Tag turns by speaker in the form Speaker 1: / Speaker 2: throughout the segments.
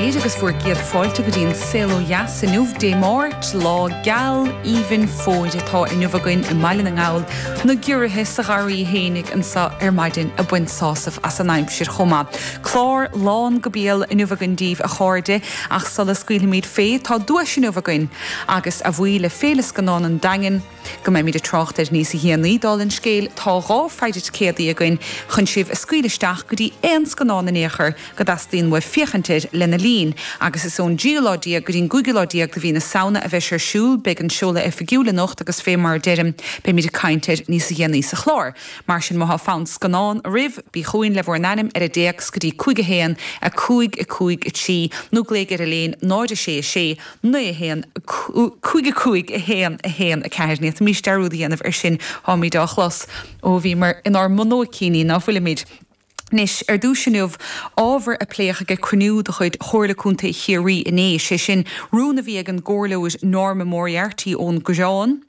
Speaker 1: léir agus bhur gcéad fáilte go dtí an Saol Ó Dheas inniu, Dé Máirt, lá geal aoibhinn fómhair atá inniu againn i mBaile na nGall, na giorraithe sa gharraí fhéinig anseo ar maidin ag baint sásamh as an aimsir chomh maith. Clár lán go béal inniu againn daoibh a chairde ach sula scaoilfimid fé tá duais inniu againn agus a bhuí le Féile Scannán an Daingin, go mbeimid ag trácht air níos dhéanaí, dála an scéil, tá 2 pheidhre ticéadaí againn chun sibh a scaoileadh isteach go dtí aon scannán in aon chor go dteastaíonn uaibh féachaint air lena linn. Agus is ón dtríú lá déag go dtí an gcúigiú lá déag de mhí na Samhna a bheidh sé ar siúl. Beidh an seoladh oifigiúil anocht agus fé mar a deirim, beimid ag caint air níos dhéanaí sa chlár. Mar sin, má thá fonn scannán oraibh, bí chugainn le bhur n-ainm ar an dtéacs go dtí 5 1 5 5 3 nó glaoigh ar an líne 0 6 6 9 1 5 5 1 1 4. Ní fhéadfaimis dearúd a dhéanamh ar sin, táimid á chlos ó bhíomar inár mbunóicíní, ná fuilimid? Anois, ar dtús inniu, ábhar a pléadh ag cruinniú de chuid Chomhairle Contae Chiarraí inné, sé sin, rún a bhí ag an gComhairleoir Norma Moriarty ón gCoireán,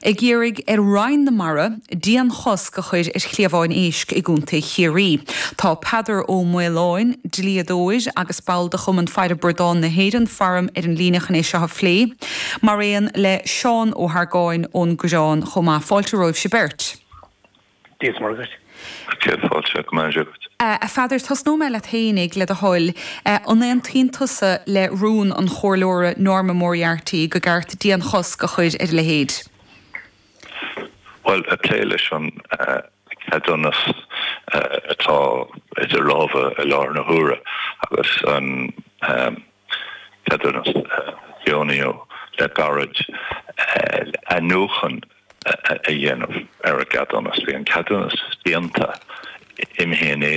Speaker 1: ag iarraidh ar Roinn na Mara dianchosc a chur ar chliabháin éisc i gContae Chiarraí. Tá Peadar Ó Maoláin, dlíodóir agus ball de Chumann Faire Bradán na hÉireann, faram, ar an líne chun é seo a phlé, mar aon le Seán Ó hArgáin ón gCoireán chomh maith. Fáilte romhaibhse beirt.
Speaker 2: Dia is Muire duit.
Speaker 3: Céad fáilte, go mbeannaí Dia
Speaker 1: duit. A Pheadair, tosnóidh mé leat fhéinig, le do thoil. An aontaíonn tusa le rún an Chomhairleora Norma Moriarty go gceart dianchosc a chur ar a leithéid?
Speaker 3: Bhuel, ag plé leis an ceadúnas atá idir lámha i láthair na huaire agus an ceadúnas a deonaíodh le gairid, athnuachan a dhéanamh ar an gceadúnas. Bhí an ceadúnas déanta imithe in éag.